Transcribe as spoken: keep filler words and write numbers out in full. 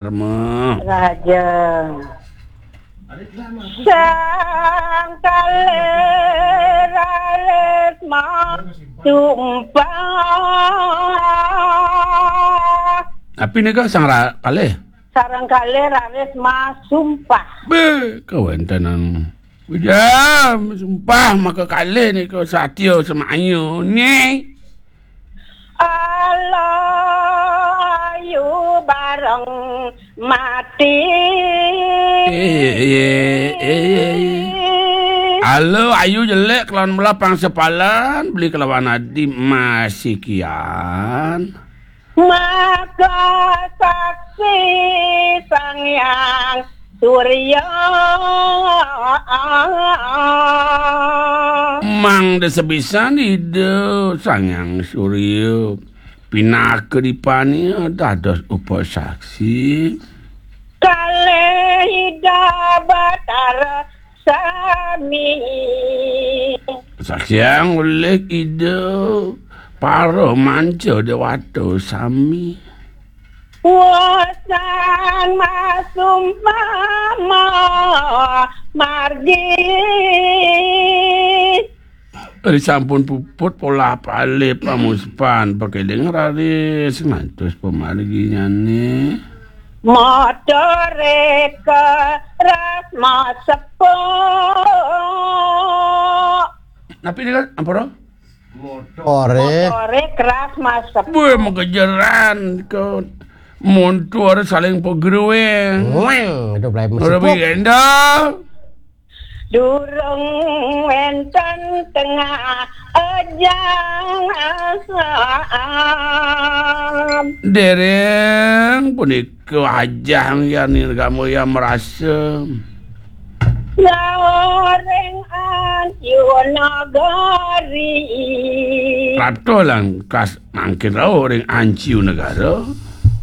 Karma. Raja. Sang kalih raris masumpah. Napi nika sang ra-, kalih? Sareng kalih raris masumpah. Be, kawéntenan. Ujam, sumpah maka kalih nika satya semaya né. Ala ayu bareng mati. Eh, eh, eh, eh. Ala ayu jelék kelawan melah pangsepalan, beli kelawan adi masikian. Maka saksi Sang Hyang Surya. Mangda sebisan Ida Sang Hyang Surya pinaka dipania dados upasaksi. Kalih Ida Batara sami. Saksiang olih Ida para manca dewata sami. Wusan masumpah margi. Ari sampun puput polah palih pamuspan, pakeling raris ngantos pamarginyané. Motoré keras masepuk. Napi nika, ampura? Motoré. Motoré keras masepuk. Buh, magejeran nika. Montor saling pagruing. Weng, aduh, belai masepuk. Ora bigenda. Durung wénten tengah ejang asam. Dereng punika ajang ya nirgama ya merasa. Lauring Ancu Nagari. Ratuh lan kas mangkin rauh ring Ancu Negara.